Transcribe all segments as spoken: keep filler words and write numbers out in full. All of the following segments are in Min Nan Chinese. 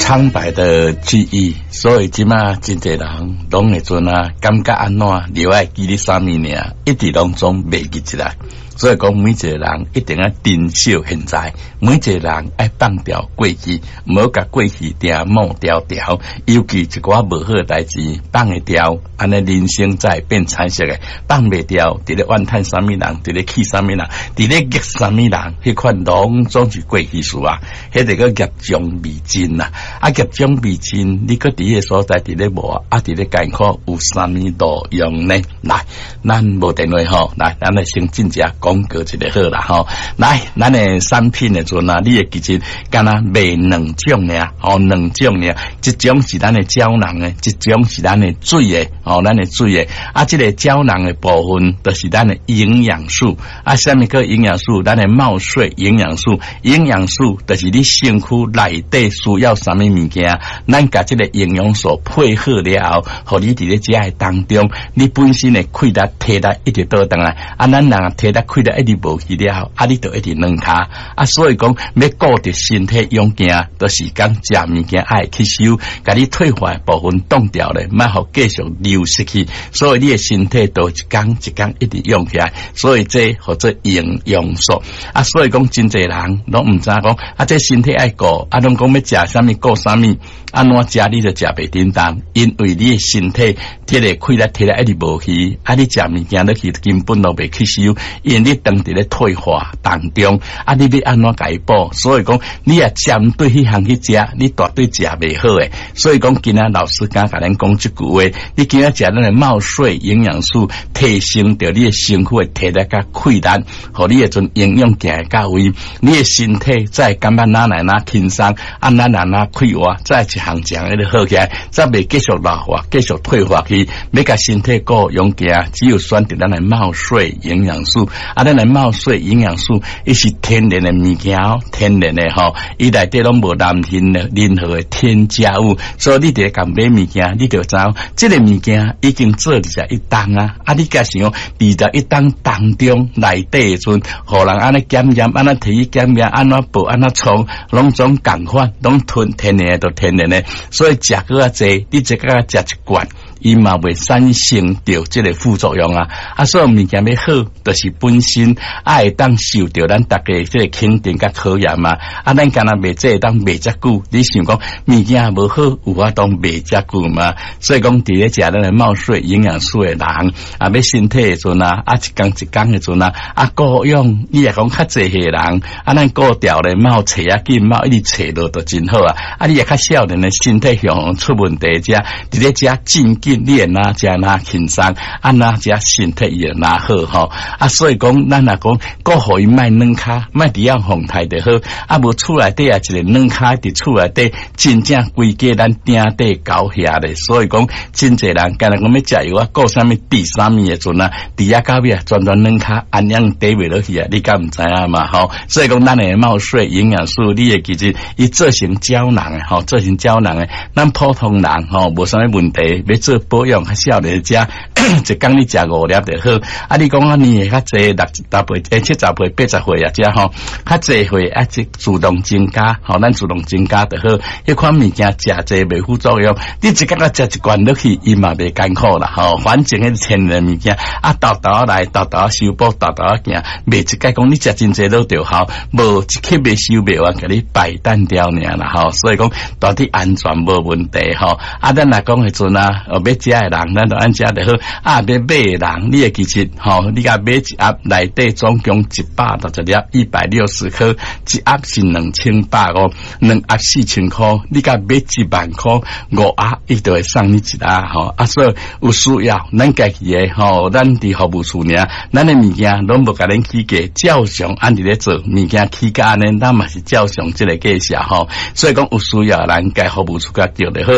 蒼白的記憶，所以這馬真濟人攏會陣啊，感覺按怎，就愛記得啥物爾，一直攏總袂記起來。所以講，每一個人一定愛珍惜現在，每一個人愛放掉過去，毋好共過去定抹掉掉。尤其一寡無好的代誌放會掉，按呢人生才會變彩色的。放袂掉，佇咧怨嘆啥物人，佇咧氣啥物人，佇咧激啥物人，彼款攏總是過去式啊。彼個叫業障未盡啊！啊，業障未盡，你閣佇彼個所在佇咧磨，啊，佇咧艱苦有啥物路用呢？來，咱無電話吼，來，咱來先進一下廣告一下好啦吼。來，咱的產品的陣啊，你會記得敢若賣兩種爾，吼，兩種爾，一種是咱的膠囊的，一種是咱的水的，吼，咱的水的。啊，這個膠囊的部分，就是咱的營養素。啊，啥物叫營養素？咱的茂穗營養素，營養素就是你身軀內底需要啥物物件，咱共這個營養素配合了後，予你佇咧食的當中，你本身的氣力、體力一直倒轉來。啊，咱人體力、氣力一直無去了後，啊，你就一直軟跤。啊，所以講欲顧著身體勇健，就是講食物件愛吸收，共你退化的部分擋掉咧，莫予繼續流失去。所以你的身體就一工一工一直用起來。所以這號做營養素。啊，所以講真濟人攏毋知講，啊，這身體愛顧，啊，攏講欲食啥物顧啥物，按怎食你就食袂叮當，因為你的身體這個氣力體力一直無去，啊，你食物件落去根本都袂吸收，因為你當佇咧退化當中，啊，你欲按怎共伊補？所以講，你若針對彼項去食，你絕對食袂好的。所以講，今仔老師敢共咱講這句話，你今仔食咱的茂穗營養素，提升著你的身軀的體力佮氣力，予你的陣營養行到位，你的身體才會感覺哪來哪輕鬆，啊，哪來哪快活，才會一項一項一直好起來，才袂繼續老化、繼續退化去。欲共身體顧勇健，只有選擇咱的茂穗營養素。啊，咱的茂穗營養素，伊是天然的物件哦，天然的吼，伊內底攏無任何任何的添加物，所以你佇咧共買物件，你就知影這個物件已經做二十一冬啊！啊，你共想二十一冬當中內底的陣，予人按呢檢驗，按呢提去檢驗，按怎報，按怎創，攏總仝款，攏純天然的，就天然的，所以食閣較濟，你一工食一罐，伊嘛袂產生著這個副作用啊！啊，所以物件欲好，就是本身愛會當受著咱大家這個肯定佮考驗嘛。啊，咱敢若賣這會當賣遮久，你想講物件無好，有法度賣遮久嘛？所以講，佇咧食咱的茂穗營養素的人，啊，欲身體的陣啊，啊，一工一工的陣啊，啊，顧養，你若講較濟歲人，啊，咱顧調咧，莫揣仔緊，莫一直揣落就真好啊！啊，你若較少年的身體向出問題遮，佇咧食真緊，你會哪食哪輕鬆，啊哪食身體伊會哪好吼！啊，所以講，咱若講顧予伊莫軟跤，莫佇遐風颱就好。啊，無厝內底啊，一個軟跤佇厝內底，真正規家咱頂底搞遐咧。所以講，真濟人敢若講欲食藥啊，顧啥物治啥物的陣啊，佇遐到尾啊，全全軟跤，安樣綴袂落去啊，你敢毋知影嘛？吼，所以講，咱的茂穗營養素，你會記得伊做成膠囊的吼，做成膠囊的，咱普通人吼無啥物問題，欲做保養較少年食，一工你食五粒就好。啊，你講啊，年歲較濟六十歲、欸七十歲、八十歲啊，遮吼較濟歲啊，這自動增加，吼，咱自動增加就好。彼款物件食濟袂副作用，你一工仔食一罐落去，伊嘛袂艱苦啦，吼。反正彼天然物件，啊，沓沓來，沓沓修補，沓沓行，袂一概講你食真濟落就好，無一刻袂收袂完，共你擺單掉爾啦，吼。所以講到底安全無問題，吼。啊，咱若講彼陣啊，欲食的人，咱就按食就好。啊，欲買的人，你會記得，吼，你共買一盒內底總共一百六十粒，一百六十顆，一盒是兩千百五，兩盒四千箍，你共買一萬箍，五盒伊就會送你一盒，吼。啊，所以有需要，咱家己的吼，咱佇服務處爾，咱的物件攏無共恁起價，照常按佇咧做，物件起價按呢，咱嘛是照常這個價數吼。所以講有需要，咱共服務處共叫就好，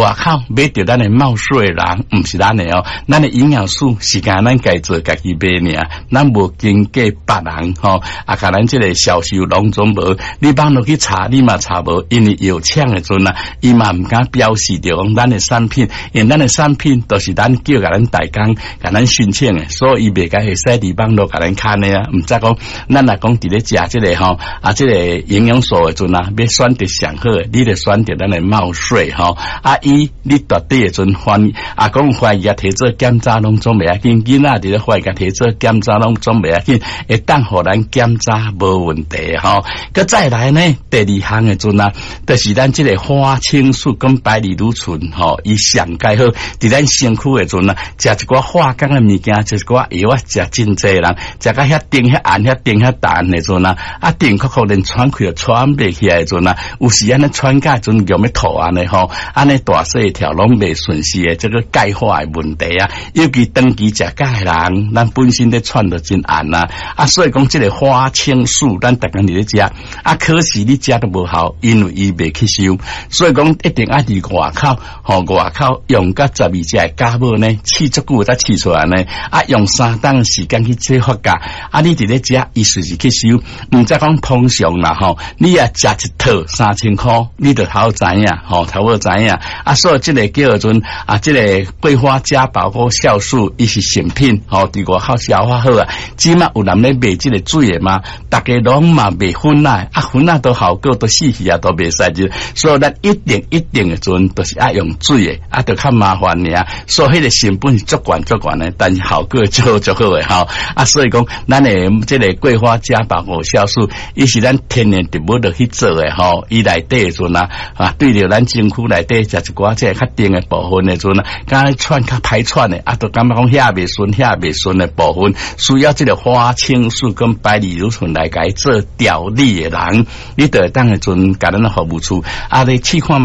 外口買著咱的茂穗素的人，毋是咱的哦，咱的營養素是干咱家做家己賣爾，咱無經過別人吼，啊，共咱這個銷售攏總無，你網路去查，你嘛查無，因為藥廠的陣啊，伊嘛毋敢標示著講咱的產品，因為咱的產品都是咱叫共咱代工，共咱申請的，所以伊袂共會使佇網路共咱看的啊，毋知講咱若講佇咧食這個吼，啊，這個營養素的陣啊，欲選擇上好的，你著選擇咱的茂穗吼，啊，伊你蹛底的陣懷啊，講懷疑啊，提做檢查攏總袂要緊，囡仔佇咧懷疑提做檢查攏總袂要緊，會當予咱檢查無問題吼。閣再來呢，第二項的陣啊，就是咱這個花青素跟白藜蘆醇吼，伊上蓋好，佇咱身軀的陣啊，食一寡化工的物件，食一寡藥啊，食真濟人，食甲遐甜遐鹹遐甜遐淡的陣啊，啊甜酷酷連喘氣都喘袂起來的陣啊，有時按呢喘甲陣欲吐按呢吼，按呢大細條攏袂順勢的這個鈣化的問題啊，尤其長期食鈣的人，咱本身咧喘就真絚啊，啊所以講這個花青素，咱逐工佇咧食，啊可是你食都無效，因為伊袂吸收，所以講一定愛佇外口，吼外口用甲十二隻的酵母呢，試足久才試出來呢，啊用三冬時間去做發酵，啊你佇咧食，伊隨時吸收，毋知講通常啦吼，你若食一套三千箍，你就頭知影，吼頭有知影，啊所以這個叫做啊，這個桂花加保護酵素，伊是成品，吼佇外口消化好啊，這馬有人咧賣這個水的嘛，逐家攏嘛賣粉仔，啊粉仔都效果都死去啊，都袂使入，所以咱一定一定的陣，都是愛用水的，啊，就較麻煩爾，所以彼個成本是足懸足懸的，但是效果足足好的吼，啊，所以講咱的這個桂花加保護酵素，伊是咱天然植物落去做的吼，伊內底的陣啊，啊，對著咱身軀內底食一寡這個較甜的部分的陣啊，敢喘較歹喘的，啊，就感覺講遐袂順遐袂順的部分，需要這個花青素跟白藜蘆醇來共伊做調理的人，你就會當的陣共咱的服務處，啊，你試看。